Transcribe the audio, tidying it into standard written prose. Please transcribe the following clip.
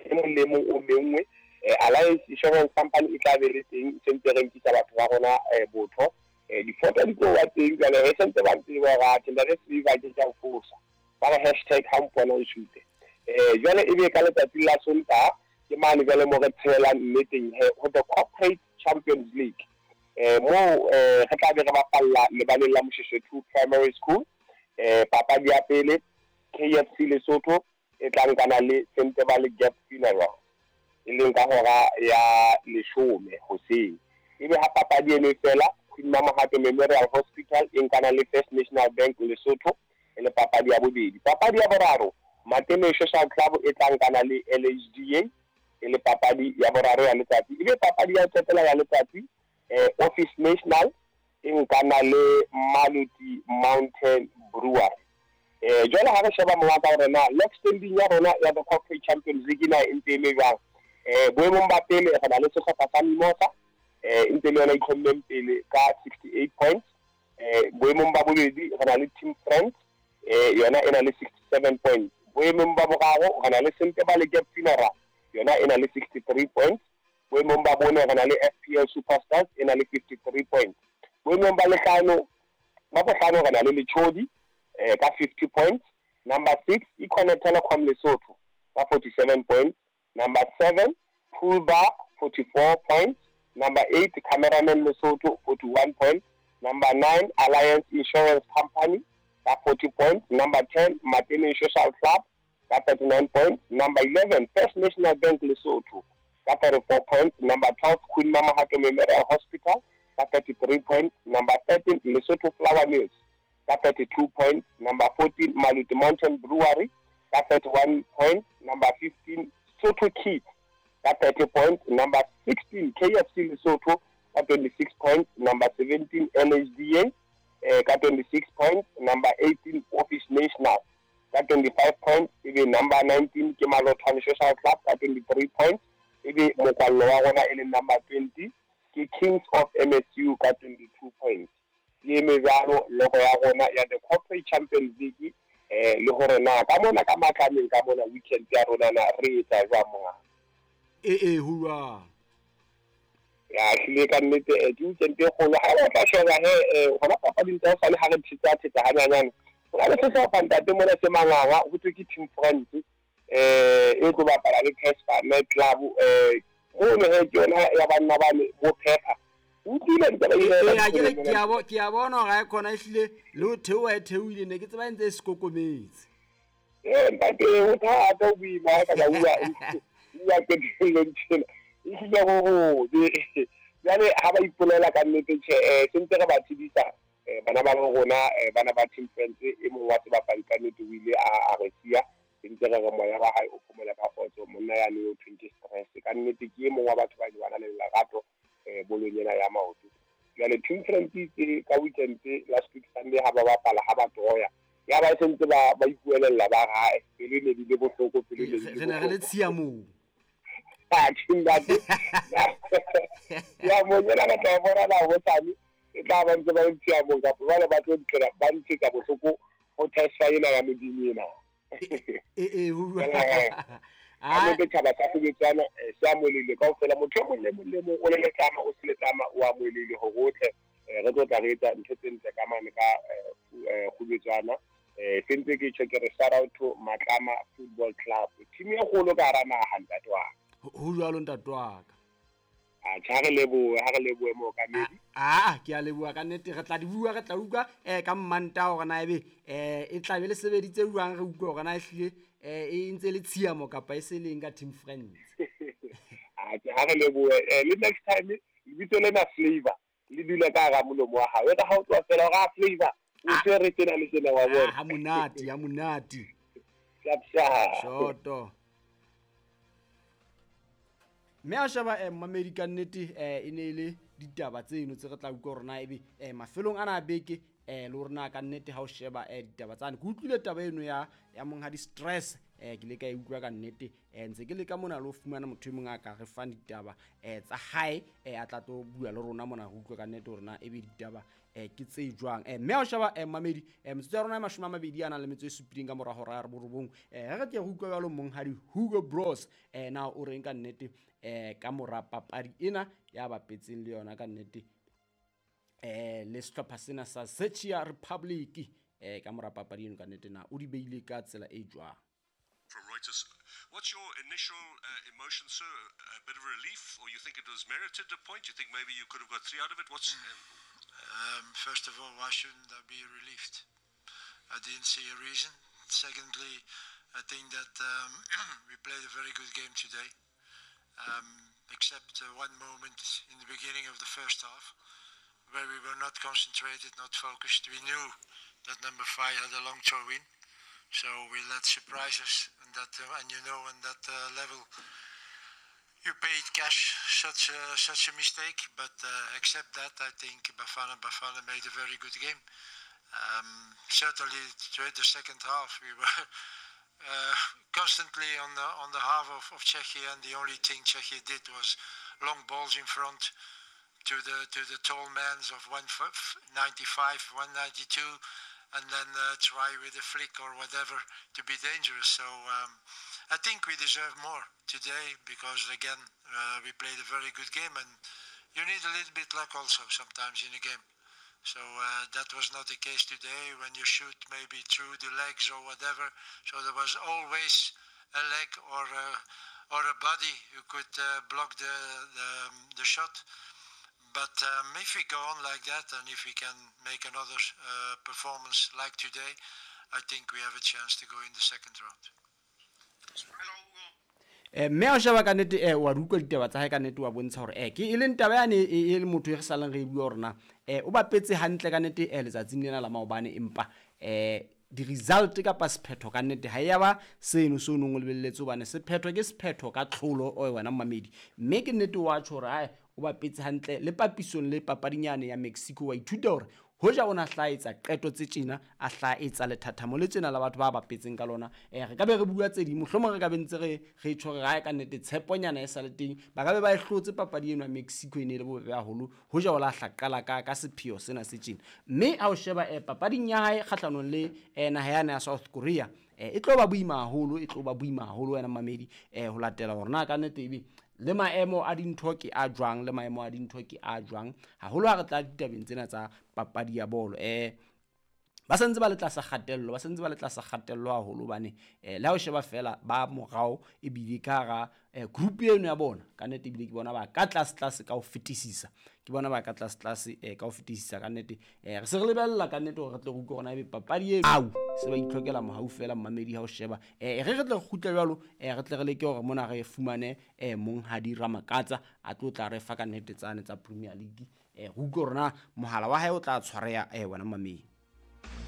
E mong le mong o menngwe. Alliance Insurance Company e tla be le teng, se ntse re nkisa batho ba rona botho. Difoto di tlo ba teng jwale, re sentse ba tseba hore atjhe ntate Silver ke tla o fosa. Ba re hashtag ha mpona o shoot. Jwale e be ka letsatsi la Sontaha ke mane jwale mo re tshelang nneteng he ho the Corporate Champions League. Moo re tla be re bapalla lebaleng la Moshoeshoe 2 Primary School. Papadi ya pele KFC Lesotho e tla nkana le Sentebale Gap Funeral, e leng ka hora ya 10 hoseng. Ebe ha papadi eno e fela, Queen Mamohato Memorial Hospital e nkana le First National Bank Lesotho e le papadi ya bobedi. Papadi ya boraro, Matene Social Club e tla nkana le LHDA e le papadi ya boraro ya letsatsi. Ebe papadi ya ho qetela ya letsatsi, Office National e nkana le Maluti Mountain Brewery. Jwale ha re sheba mongaka hore na log standing ya rona ya the Corporate Champions League na e ntse e le jwang. Boemong ba pele re na le sehlopha sa Mimosa, e ntse le yona e itlhommeng pele ka 68 points. Boemong ba bobedi re na le Team Friends, yona e na le 67 points. Boemong ba boraro re na le Sentebale Gap Funeral, yona e na le 63 points. Boemong ba bone re na le FPL Superstars e na le 53 points. Boemong ba lehlano ba bohlano re na le Lechodi ka 50 points. Number 6 Econet Telecom Lesotho ka 47 points. Number 7 Pool Bar 44 points. Number 8 Cameraman Lesotho 41 points. Number 9 Alliance Insurance Company ka 40 points. Number 10 Mateneng Social Club ka 39 points. Number 11 First National Bank Lesotho ka 34 points. Number 12 Queen Mamohato Memorial Hospital ka 33 points. Number 13 Lesotho Flour Mills ka 32 points. Number 14 Maluti Mountain Brewery ka 31 points. Number 15 Sotho Kids ka 30 points. Number 16 KFC Lesotho ka 26 points. Number 17 LHDA ka 26 points. Number 18 Office National ka 25 points. Ebe number 19 ke Malothwane Social Club ka 23 points. Ebe mokwallo wa rona e leng number 20 ke Kings of MSU ka 22 points. Ke eme jwalo logo ya rona ya the Corporate Champions League, le hore na ka mona ka matlameng ka mona weekend ya rona na re etsa jwang monga. E ho jwang? Ya hlile ka nnete, ke weekend e kgolo. Ha o tla sheba he, hona papading tsa hosane ha re thetsa hanyanyane. Ho na le sehlopha ntate mona se manganga, ho thwe ke Team France, e tlo bapala le Casper Night Club, mono he ke yona ya banna bane bo Pepper. O utlwile ntaba ena? Ke a bona hore ha e khona ehlile le ho theoha e theohile, ne ke tseba e ntse e sekokometse. Ntate, ho thata, ho boima ha ka bua qetellong tjena. Ehlile ho hobe. Jwale ha ba ipolela ka nnete tjhe, se ntse re ba tsebisa, bana ba rona, bana ba Team France, e mong wa sebapadi ka nnete o ile a re siya. Se ntse re re moya wa hae o phomole ka kgotso, monna yane o thweng ke stress. Ka nnete ke e mong wa batho ba ile ba na le lerato bolong ena ya maoto. Jwale Team France itse ka weekend last week Sunday ha ba bapala, ha ba troya, ya ba se ntse ba ipuelella ba hae, pelo ne di le bohloko, pelo ne di le Re ne re le tshiamong. Atjhe, ntate. Ya mong ena re tla bona na hosane, e tla ba ntse ba le tshiamong kapa jwale ba tlo ntlela, ba ntshetsa bohloko ho testa ena ya Modimo ena. E, ho jwang? Ha nnete tjhaba sa Kgobetswana, se amohelehile kaofela. Motho e mong le mong le mong o le letlama, o se letlama, o amohelehile hore o tle, re tlo tla re etsa ntho tse ntle ka mane ka Kgobetswana. Se ntse ke tjho ke re shout out to Matlama Football Club, team e kgolo ka hara naha ntate wa ka. Ho jwalo ntate wa ka. Atjhe, ha re lebohe, ha re lebohe mookamedi. Ke a leboha ka nnete. Re tla di bua, re tla utlwa ka Mmantaha hore na ebe e tla be le sebeditse jwang, re utlwe hore na ehlile e ntse le tshiamo kapa e se leng ka Team Friends. Atjhe, ha re lebohe. Le next time lebitso lena Flavor le dule ka hara molomo wa hao. Eka ha o tloha fela hore a Flavor o tshwere tjena le tjena wa bona. Ha monate, ha monate. Sharp, sharp. Shoto. Mme a sheba mmamedi ka nnete, e ne e le ditaba tseno tse re tla utlwa hore na ebe mafelong ana a beke Le hore na ka nnete ha o sheba ditaba tsane, ke utlwile taba eno ya monghadi Stress, ke ile ka e utlwa ka nnete. Ntse ke leka mona le ho fumana motho e mong a ka re fang ditaba tsa hae, a tla tlo bua le rona mona, re utlwe ka nnete hore na ebe ditaba ke tse jwang. Mme ha o sheba, mamedi, metsotso ya rona e 27 ka mora hora ya 9, re tle re utlwe jwalo monghadi Hugo Broos, na o reng ka nnete ka mora papadi ena ya bapetseng le yona ka nnete, le sehlopha sena sa Czechia Republic, ka mora papadi eno ka nnete na o di beile ka tsela e jwang. From Reuters, what's your initial emotion, sir? A bit of relief, or you think it was merited a point? You think maybe you could have got 3 out of it? What's First of all, why shouldn't I be relieved? I didn't see a reason. Secondly, I think that we played a very good game today, except one moment in the beginning of the first half where we were not concentrated, not focused. We knew that number 5 had a long throw in, so we let surprises, and that, and you know, on that level, you paid cash such a mistake. But except that, I think Bafana Bafana made a very good game. Certainly, the second half we were constantly on the half of Czechia, and the only thing Czechia did was long balls in front to the tall mans of 195, 192, and then try with a flick or whatever to be dangerous. So I think we deserve more today, because again, we played a very good game, and you need a little bit luck also sometimes in a game. So that was not the case today, when you shoot maybe through the legs or whatever. So there was always a leg or a body who could block the shot. But if we go on like that, and if we can make another performance like today, I think we have a chance to go in the second round. Mme ha o sheba ka nnete, wa di utlwa ditaba tsa hae ka nnete, wa bontsha hore ke e leng taba yane e le motho e re salang re e bua hore na o bapetse hantle ka nnete letsatsing lena la maobane, empa di-result kapa sephetho ka nnete ha ya ba seno se o nong o lebelletse, hobane sephetho ke sephetho ka tlholo o wena mamedi. Mme ke nnete wa tjho hore ae o bapetse hantle le papisong le papadinyane ya Mexico, wa ithuta hore hoja o na hlaetsa qeto tse tjena, a hlaetsa lethathamo le tjena la batho ba bapetseng ka lona, re ka be re bua tse ding, mohlomong re ka be ntse re tjho re ka nnete tsheponyana e sa le teng, ba ka be ba e hlotse papadi eno ya Mexico e ne le bobebe haholo hoja o la hla qala ka sepheo sena se tjena. Mme ha o sheba papading ya hae kgahlanong le naha yane ya South Korea, e tlo ba boima haholo, e tlo ba boima haholo wena mamedi, ho latela hore na ka nnete ebe le maemo a dintho ke a jwang, le maemo a dintho ke a jwang haholo ha re tla ditabeng tsena tsa papadi ya bolo. Ba santse ba le tlasa kgatello, ba santse ba le tlasa kgatello haholo, hobane le ha o sheba fela ba morao ebile ka hara group eno ya bona ka nnete, ebile ke bona ba ka tlase tlase ka ho fetisisa, ke bona ba ka tlase tlase ka ho fetisisa ka nnete. Re se re lebella ka nnete hore re tle re utlwe hore na ebe papadi eno au se ba itlhokela mohau fela mmamedi ha o sheba. Re tle re kgutle jwalo, re tle re leke hore mona re fumane monghadi Ramakatsa a tlo tla re fa ka nnete tsane tsa Premier League, re utlwe hore na mohala wa hae o tla tshwareha wena mmamedi.